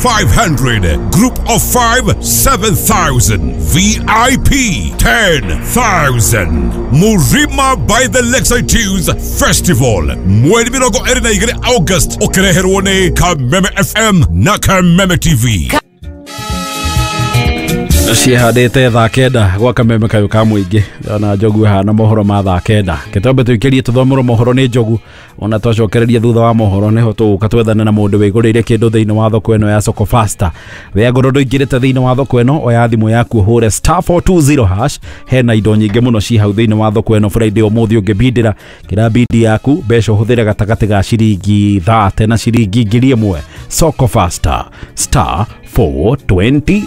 500, group of 5 7,000, VIP 10,000. Murima by the Lakeside Tunes Festival mweri 22 August, ũkĩreherwo nĩ Kameme FM na Kameme TV. Ciĩhandĩte thaa 9 gwa Kameme kayũ ka mũingĩ. Ona Njogu hana mohoro ma thaa 9, kĩtombe tũikĩrie tũthomerwo mohoro nĩ Njogu. Ona twacokereria thutha wa mohoro, nĩho tũgũka twethane na mũndũ wĩgũrĩire kĩndũ thĩinĩ wa thoko ĩno ya Soko Fasta. We ngorwo ndũingĩrĩte thĩinĩ wa thoko ĩno, oya thimũ yaku, ũhũre *420#. Hena indo nyingĩ mũno ci hau thĩinĩ wa thoko ĩno. Friday ũmũthĩ ũngĩbindĩra kĩra bindi yaku, mbeca ũhũthĩre gatagatĩ ga ciringi 30 na ciringi 1,000. Soko Fasta, *420#.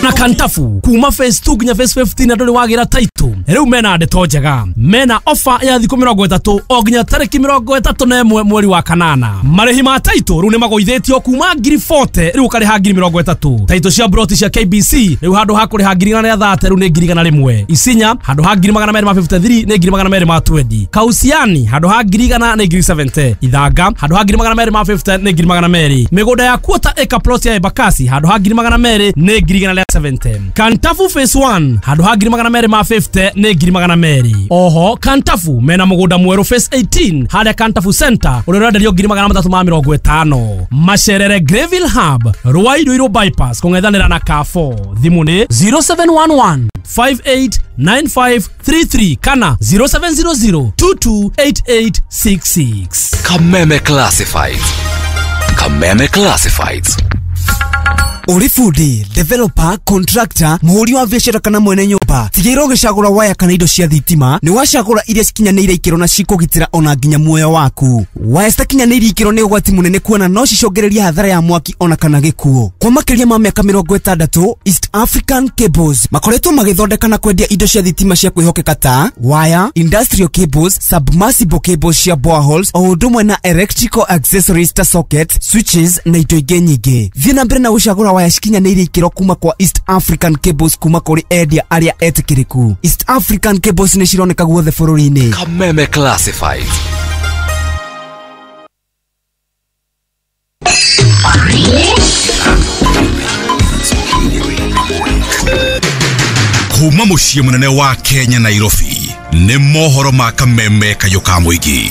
Na Kantafu kuma phase 2 nginya phase 15 andũ nĩ wagĩra title. Rĩu mena ndeto njega, mena offer ya thikũ 30 o nginya tarĩki 31 mweri wa kanana. Marĩhi ma title rĩu nĩ magũithĩtio kuma ngiri 40, rĩu ũkarĩha ngiri 30. Title cia broti cia KBC rĩu handũ ha kũrĩha ngiri 130, rĩu nĩ ngiri 101. Isinya handũ ha ngiri 253, nĩ ngiri 220. Kausiani handũ ha ngiri 100, nĩ ngiri 70. Ithanga handũ ha ngiri 250, nĩ ngiri 200. Mĩgũnda ya quarter acre plot ya Embakasi handũ ha ngiri 200, nĩ ngiri 170. Kantafu phase 1 handũ ha ngiri 250, nĩ ngiri 200. Oho Kantafu mena mũgũnda mwerũ phase 18 harĩa Kantafu Center, ũrĩa ũrenderio ngiri 350. Macerere Greville Hub, Rwai Ruiru bypass kũng'ethanĩra na Carrefour. Thimũ nĩ 0711 589533 kana 0700 228866. Kameme Classifieds. Kameme Classifieds. Ũrĩ bundi, developer, contractor, mũhũri wa biacara kana mwene nyũmba, tigĩrĩra ũgĩcagũra waya kana indo cia thitima nĩ wacagũra iria cikinyanĩire ikĩro na cikũgitĩra ona nginya muoyo waku. Waya citakinyanĩire ikĩro nĩ ũgwati mũnene, kuona no cicũngĩrĩrie hathara ya mwaki ona kana gĩkuũ. Kwa makĩria ma mĩaka 60, East African Cables makoretwo magĩthondeka na kwendia indo cia thitima cia kwĩhokeka ta waya, industrial cables, submersible cables cia boreholes, o ũndũ ũmwe na electrical accessories ta sockets, switches na indo ingĩ nyingĩ. Thiĩ na mbere na gũcagũra waya cikinyanĩire ikĩro kuma kwa East African Cables, kuma kũrĩ endia arĩa etĩkĩrĩku. East African Cables nĩ cironeka guothe bũrũri-inĩ. Kameme Classifieds. Kuma mũciĩ mũnene wa Kenya, Nairobi, nĩ mohoro ma Kameme kayũ ka mũingĩ.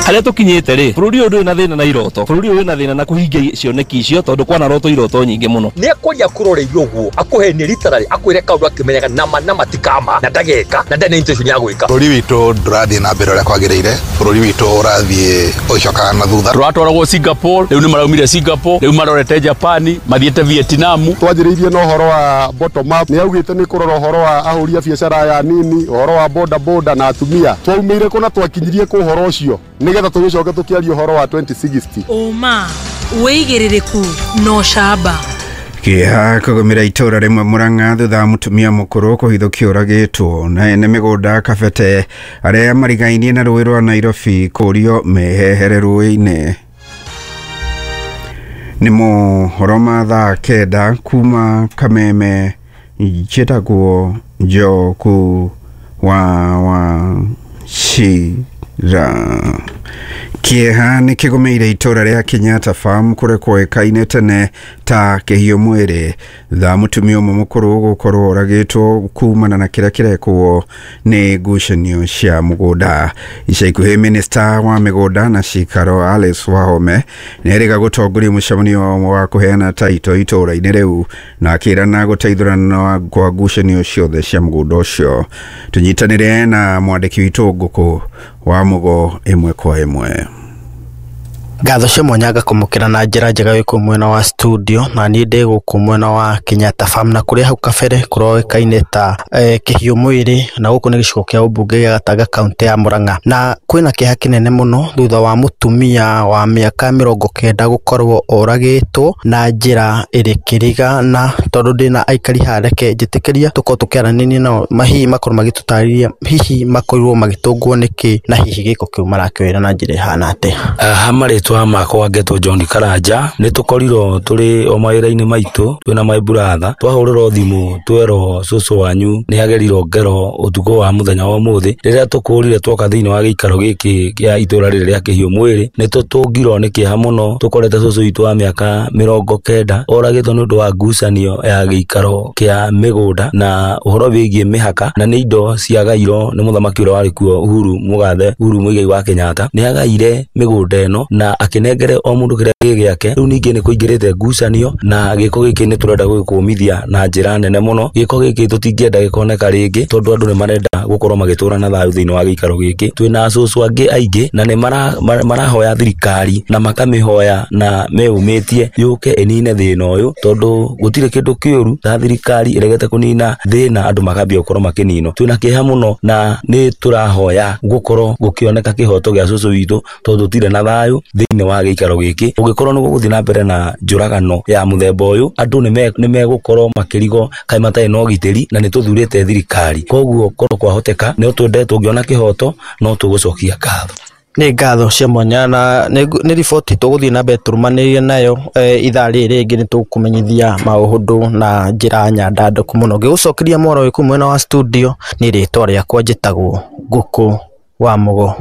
Harĩa tũkinyĩte rĩ, bũrũri ũyũ ndũrĩ na thĩna na iroto, bũrũri ũyũ wĩna thĩna na kũhingia cioneki icio, tondũ kwana roto iroto nyingĩ mũno. Nĩ akwaria kũroreirio ũguo, akũhenie literally, akwĩre kaũndũ akĩmenyaga nama nama ti kama na ndageka na ndarĩ na intention ya gwĩka. Bũrũri witũ ndũrathiĩ na mbere ũrĩa kwagĩrĩire, bũrũri witũ ũrathiĩ ũgĩcokaga na thutha. Tũratwaragwo Singapore, rĩu nĩ maraumire Singapore, rĩu marorete Japan, mathiĩte Vietnam. Twanjĩrĩirie na ũhoro wa bottom up, nĩ augĩte nĩ kũrora ũhoro wa ahũri a biacara aya nini, ũhoro wa boda boda na atumia. Twaumĩire kũ na twakinyirie kũ ũhoro ũcio, nĩgetha tũgĩcoke tũkĩaria ũhoro wa 2060? Ũma, wĩigĩrĩrĩku na ũcamba. Kĩeha kũgũmĩra itũra rĩmwe Mũrang'a thutha wa mũtumia mũkũrũ kũhithũkio ũragĩtwo, na ene mĩgũnda Kabete arĩa marigainie na rũĩ rwa Nairobi kũrio mehehere rũĩ-inĩ. Nĩ mohoro ma thaa 9 kuma Kameme. Njĩtagwo Njoku wa Wachira. Kĩeha nĩ kĩgũmĩire itũra rĩa Kenyatta Farm, kũrĩa kwoĩkaine tene ta Kĩhiũ Mwĩrĩ, thutha mũtumia ũmwe mũkũrũ gũkorwo oragĩtwo kumana na kĩrĩa kĩrekwo nĩ ngucanio cia mũgũnda. Ica ikuhĩ, minista wa mĩgũnda na cikaro Alice Wahome nĩ erĩga gũtongoria mũcemanio wa kũheana taito itũra-inĩ rĩu, na akĩrana gũteithũrana kwa ngucanio ciothe cia mũgũnda ũcio. Tũnyitanĩre na mwandĩki witũ Ngũkũ wa Mũgo ĩmwe kwa ĩmwe. Ngatho cia mwanya ngakũmũkĩra na njĩra njega wĩ kũu mwena wa studio, na niĩ ndĩ gũkũ mwena wa Kenyatta Farm, na kũrĩa hau kabere kũroĩkaine ta Kĩhiũ Mwĩrĩ, na gũkũ nĩ gĩcigo kĩa ũmbunge gĩa Gatanga, kaũntĩ ya Murang'a. Na kwĩna kĩeha kĩnene mũno thutha wa mũtumia wa mĩaka 90 gũkorwo oragĩtwo na njĩra ĩrĩ kĩriga. Na tondũ ndĩna aikari haha, reke njĩtĩkĩria tũkorwo tũkĩaranĩria nao, hihi makorwo magĩtũtarĩria hihi makorirwo magĩtũngwo nĩkĩ, na hihi gĩko kĩu marakĩoera na njĩra ĩhana atĩa. Ha marĩtwa Marĩtwa makwa ngetwo John Karanja. Nĩ tũkorirwo tũrĩ o mawĩra-inĩ maitũ twĩna my brother, twahũrĩrwo thimũ twerwo cũcũ wanyu nĩ agerirwo ngero ũtukũ wa mũthenya wa ũmũthĩ. Rĩrĩa tũkũrire twoka thĩinĩ wa gĩikaro gĩkĩ kĩa itũra rĩrĩ rĩa Kĩhiũ Mwĩrĩ, nĩ tũtũngirwo nĩ kĩeha mũno. Tũkorete cũcũ witũ wa mĩaka 90 oragĩtwo nĩ ũndũ wa ngucanio ya gĩikaro kĩa mĩgũnda na ũhoro wĩgiĩ mĩhaka, na nĩ indo ciagairwo nĩ mũthamaki ũrĩa warĩ kuo Uhuru Mũgathe Uhuru Muigai wa Kenyatta. Nĩ agaire mĩgũnda ĩno na akĩnengere o mũndũ kĩrĩa gĩ gĩake. Rĩu ningĩ nĩ kũingĩrĩte ngucanio na gĩko gĩkĩ nĩ tũrenda gũgĩkũmithia na njĩra nene mũno. Gĩko gĩkĩ tũtingĩenda gĩkoneka rĩngĩ tondũ andũ nĩ marenda gũkorwo magĩtũra na thayũ thĩinĩ wa gĩikaro gĩkĩ. Twĩna acũcũ angĩ aingĩ na nĩ marahoya thirikari na makamĩhoya na meyũmĩtie yũke ĩnine thĩna ũyũ, tondũ gũtirĩ kĩndũ kĩũru ta thirikari ĩregete kũnina thĩna andũ makambia gũkorwo makĩninwo. Twĩna kĩeha mũno na nĩ tũrahoya gũkorwo gũkĩoneka kĩhoto gĩa cũcũ witũ tondũ tũtirĩ na thayũ thĩinĩ wa gĩikaro gĩkĩ. Ũngĩkorwo nĩ gũgũthiĩ na mbere na njũragano ya mũthemba ũyũ, andũ nĩ megũkorwo makĩrigwo kaĩ matarĩ na ũgitĩri, na nĩ tũthurĩte thirikari. Koguo korwo kwahoteka no twende tũngĩona kĩhoto no tũgũcokia ngatho. Nĩ ngatho cia mwanya na nĩ riboti tũgũthiĩ na mbere tũrũmanĩrĩire nayo ithaa rĩrĩ rĩngĩ nĩ tũkũmenyithia maũndũ na njĩra nyandandũku mũno. Ngĩgũcokeria mwaro wĩ mwena wa studio nĩ rĩtwa rĩakwa njĩtagwo Ngũkũ wa Mũgo.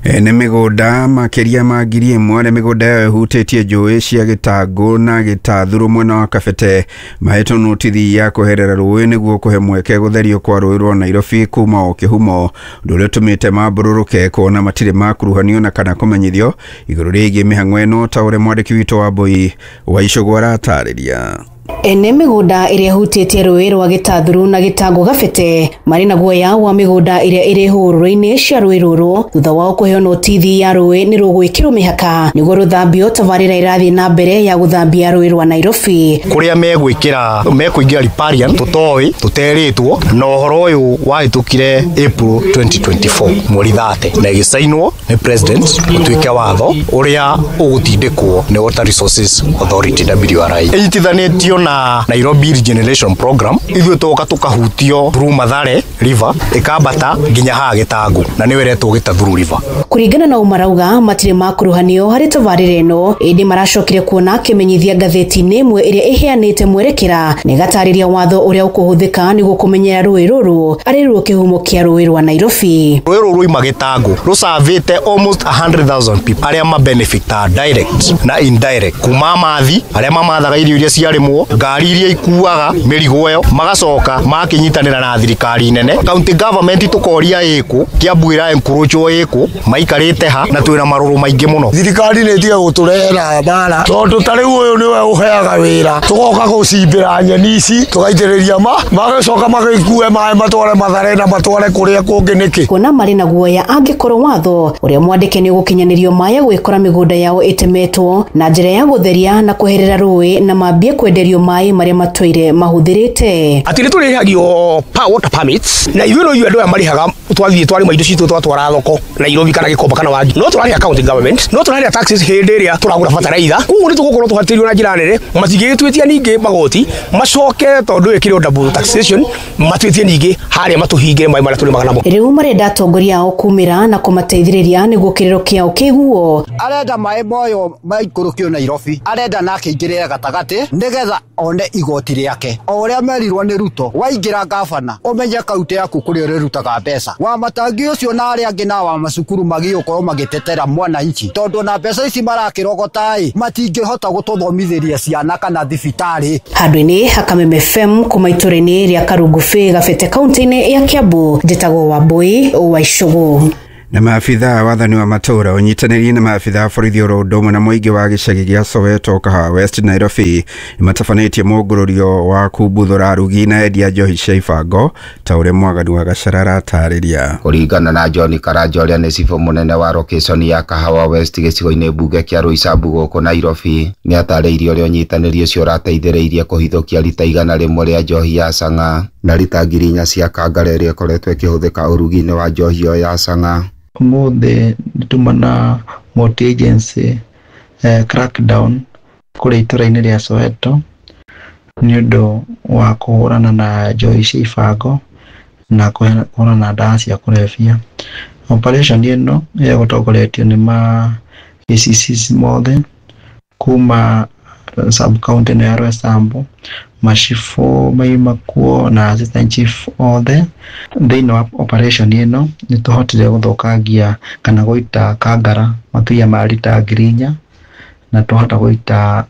Nĩ mĩgũnda makĩria ma 1,000 arĩa mĩgũnda yao ĩhutĩtie njũĩ cia Gĩtangũ na Gĩtathurũ mwena wa Kabete mahetwo notithi ya kweherera rũĩ nĩguo kũhe mweke gũtherio kwa rũĩ rwa Nairobi kuma o kĩhumo, ũndũ ũrĩa ũtũmĩte mambũrũrũke kuona matirĩ makuruhanio na kana kũmenyithio igũrũ rĩgiĩ mĩhang'o ĩno, ta ũrĩa mwandĩki witũ wa Mbui wa Icũgũ aratarĩria. Ene mĩgũnda ĩrĩa ĩhutĩtie rũĩ rwa Gĩtathurũ na Gĩtangũ Gabete marĩ na guoya wa mĩgũnda ĩrĩa ĩrĩ hũrũrũ-inĩ cia rũĩ rũrũ thutha wao kũheo notithi ya rũĩ nĩ rũgwĩkĩrwo mĩhaka nĩguo rũthambio. Tabarĩra ĩrathiĩ na mbere ya gũthambia rũĩ rwa Nairobi. Kũrĩa megwĩkĩra mekũingĩra riparian tũtoĩ tũterĩtwo, na ũhoro ũyũ wahĩtũkire April 2024 mweri 30 na ĩgĩcainwo nĩ president ũtuĩke watho ũrĩa ũgũtindĩkwo nĩ Water Resources Authority WRA. Ĩnyitithanĩtio na Nairobi Regeneration Program. Ithuĩ tũgoka tũkahutio through Mathare River ĩkambata nginya haha Gĩtangũ na nĩyo ĩretwo Gĩtathurũ River. Kũringana na ũmarauga matirĩ makuruhanio harĩ tabarĩra ĩno, ĩndĩ maracokire kuona kĩmenyithia ngathĩti-inĩ ĩmwe ĩrĩa ĩheanĩte mwerekera na ĩgatarĩria watho ũrĩa ũkũhũthĩka nĩguo kũmenyera rũĩ rũrũ arĩ ruo kĩhumo kĩa rũĩ rwa Nairobi. Rũĩ rũrũ rwaima Gĩtangũ rũcavĩte almost 100,000 people arĩa mabenefita direct na indirect kuma mathi arĩa mamathaga irio iria ciarĩmwo, ngari iria ikuaga mĩrigo ĩyo, magacoka makĩnyitanĩra na thirikari nene. County government tũkoria ĩkũ, Kiambu ĩra encroachwo ĩkũ, maikarĩte ha na twĩna marũrũ maingĩ mũno. Thirikari nĩ ĩtige gũtũrehera mbara tondũ ta rĩu ũyũ nĩwe ũheaga wĩra, tũgoka gũcimbĩra nyeni ici tũgaitĩrĩria magacoka magĩkue maĩ matware Mathare na matware kũrĩa kũngĩ nĩkĩ. Kuona marĩ na guoya angĩkorwo watho ũrĩa mwandĩke nĩ ũgũkinyanĩrio maya gwĩkora mĩgũnda yao ĩtemetwo na njĩra ya gũtheria na kweherera rũĩ na mambie kwenderio maĩ marĩa matũire mahũthĩrĩte. Atĩ nĩ tũrĩhagio water permits na ithuĩ no ithuĩ andũ aya marĩhaga, twathiĩ twarĩma indo citũ twatwara thoko Nairobi kana Gĩkomba kana Wangi, no tũrarĩha county government, no tũrarĩha taxes hĩndĩ ĩrĩa tũragũra bataraitha. Koguo nĩ tũgũkorwo tũhatĩrĩirio na njĩra nene, matingĩgĩtwĩtia ningĩ magoti macoke tondũ ĩkĩrwo double taxation matwĩtie ningĩ harĩa matũhingĩre maĩ marĩa tũrĩmaga namo. Rĩu marenda atongoria ao kumĩra na kũmateithĩrĩria nĩguo kĩrĩro kĩao kĩiguo. Arenda maĩ moyo maikũrũkio Nairobi, arenda nake aingĩrĩre gatagatĩ nĩgetha one igoti rĩake. O ũrĩa merirwo nĩ Ruto, waingĩra gavana ũmenye kaunti yaku kũrĩa ũrĩrutaga mbeca. Wa matangi ũcio na arĩa angĩ na wa macukuru magĩũkorwo magĩtetera mwananchi, tondũ na mbeca ici marakĩrogota-ĩ matingĩhota gũtũthomithĩria ciana kana thibitarĩ. Handũ-inĩ ha Kameme FM kuma itũra-inĩ rĩa Karungubĩ Gabete kaunti-inĩ ya Kiambu, njĩtagwo Wambui wa Icũgũ. Na maabithaa wathani wa matũra ũnyitanĩrie na maabithaa borithi oro ũndũ ũmwe na mũingĩ wa gĩcagi gĩa Soweto Kahawa West Nairobi nĩmatabanĩtie mũngũrũrio wa kumbuthũra arugi na endia njohi cia ibango ta ũrĩa Mwaganu wa Gacara aratarĩria. Kũringana na John Karanja ũrĩa nĩ cibũ mũnene wa location ya Kahawa West gĩcigo-inĩ mbunge kĩa Roysambu gũkũ Nairobi, nĩatarĩirie ũrĩa ũnyitanĩri ũcio ũrateithĩrĩirie kũhithũkia rita 100 rĩa njohi ya chang'aa na rita 4,000 cia kangara ĩrĩa ĩkoretwo ĩkĩhũthĩka ũrugi-inĩ wa njohi ĩyo ya chang'aa. Ũmũthĩ nĩtuma na multi agency crackdown kũrĩa itũra-inĩ rĩa Soweto nĩ ũndũ wa kũhũrana na njohi cia ibango na kũhũrana na ndawa cia kũrebia. Operation ĩno ĩgũtongoretio nĩ ma ACCs mothe kuma sub county ĩno ya Roysambu, macibũ maima kuo na assistant chief othe. Thĩinĩ wa operation ĩno nĩ tũhotire gũthũkangia kana gũita kangara makĩria ma rita 4,000 na twahota gũita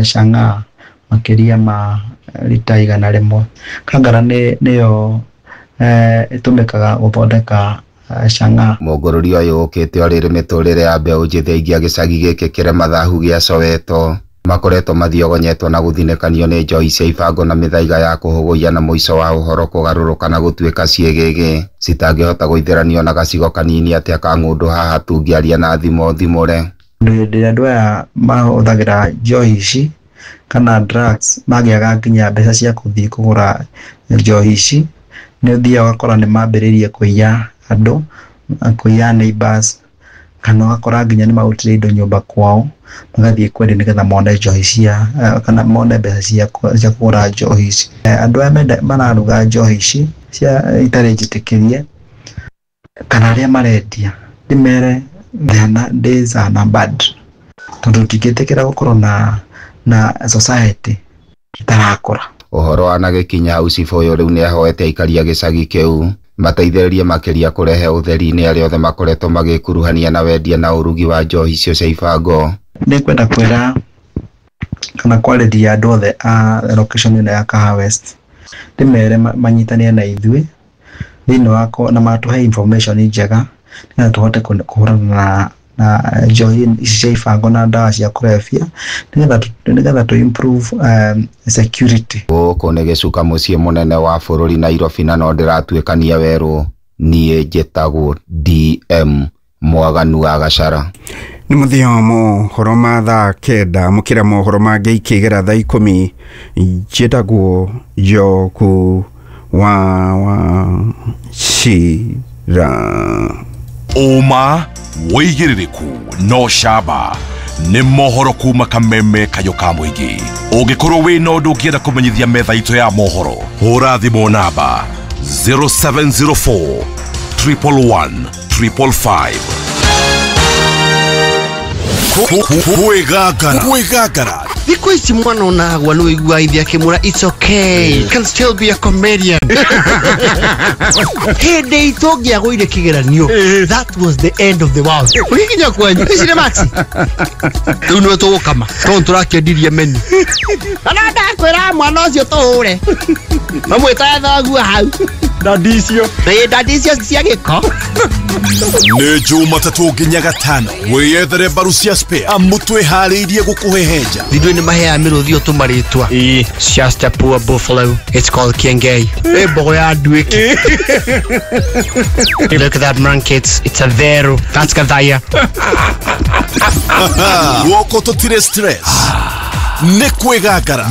chang'aa makĩria ma rita 100. Kangara nĩyo ĩtũmĩkaga gũthondeka chang'aa. Mũngũrũri ũyũ ũkĩte o rĩrĩ mĩtũrĩre ya mbeũ njĩthĩ aingĩ a gĩcagi gĩkĩ kĩrĩ mathahu gĩa Soweto makoretwo mathiogonyetwo na gũthinĩkanio nĩ njohi cia ibango na mĩthaiga ya kũhũgũiya na mũico wa ũhoro kũgarũrũka na gũtuĩka ciĩgĩgĩ citangĩhota gũithĩranio na gacigo kanini atĩa ka ng'ũndũ haha tũngĩaria na thimo thimũre. Hĩndĩ ĩrĩa andũ aya mahũthagĩra njohi ici kana drugs magĩaga nginya mbeca cia kũthiĩ kũgũra njohi ici, nĩ ũthiaga ũgakora nĩ mambĩrĩirie kũiya andũ, kũiya neighbors, kana ũgakora nginya nĩ marutire indo nyũmba kwao magathiĩ kwendia nĩgetha mone njohi cia kana mone mbeca cia kũgũra njohi ici. Andũ aya mararuga njohi ici cia itarĩ njĩtĩkĩrie kana arĩa marendia ndĩmere days are numbered, tondũ ndingĩtĩkĩra gũkorwo na society ĩtarakũra. Ũhoro wanagĩkinya hau cibũ ũyũ rĩu nĩahoete aikari a gĩcagi kĩu mateithĩrĩrie makĩria kũrehe ũtheri-inĩ arĩa othe makoretwo magĩkuruhania na wendia na ũrugi wa njohi icio cia ibango. Nĩngwenda kwĩra kana kwarĩria andũ othe a location ĩno ya Kahawa West, ndĩmere manyitanĩre na ithuĩ thĩinĩ wa na matũhe information njega nĩgetha tũhote kũhũrana na njohi ici cia ibango na ndawa cia kũrebia nĩgetha tũ improve security. Gũkũ nĩ gĩcuka mũciĩ mũnene wa bũrũri Nairobi na no ndĩratuĩkania werũ. Niĩ njĩtagwo DM Mwaganu wa Gachara. Nĩ mũthia wa mohoro ma thaa 9 mũkĩra mohoro mangĩ ikĩgera thaa 10. Njĩtagwo Njoku wa Wachira. Ũma wĩigĩrĩrĩku no camba nĩ mohoro kuma Kameme kayũ ka mũingĩ. Ũngĩkorwo wĩna ũndũ ũngĩenda kũmenyithia metha itũ ya mohoro, hũra thimũ namba 0704 111 555. Kwĩgangara thikũ ici mwana onagwa nĩ wĩiguaga ithe akĩmwĩra it's okay, you can still be a comedian. Hĩndĩ itũ ũngĩagũire kĩgeranio, that was the end of the world. Ũgĩkinya kwanyu ici nĩ maxi rĩu nĩwe tũgũkama tondũ tũrakĩendirie menu. Kana ndakwĩra mwana ũcio tũhũre mamwĩtaga thoguo hau Ndadicio. Ndadicio cia gĩko. Nĩ Jumatatũ nginya Gatano wĩyethere mbaru cia spare amu twĩharĩirie gũkũhehenja. Ithuĩ nĩ maheaga mĩrũthi ũtũmarĩtwa. It's just a poor buffalo. It's called Kiengei. Ĩ mbogo ya nduĩki. Look at that monkey. It's a vero. That's Gathaya. Guoko tũtirĩ stress. Nĩ kwĩgangara.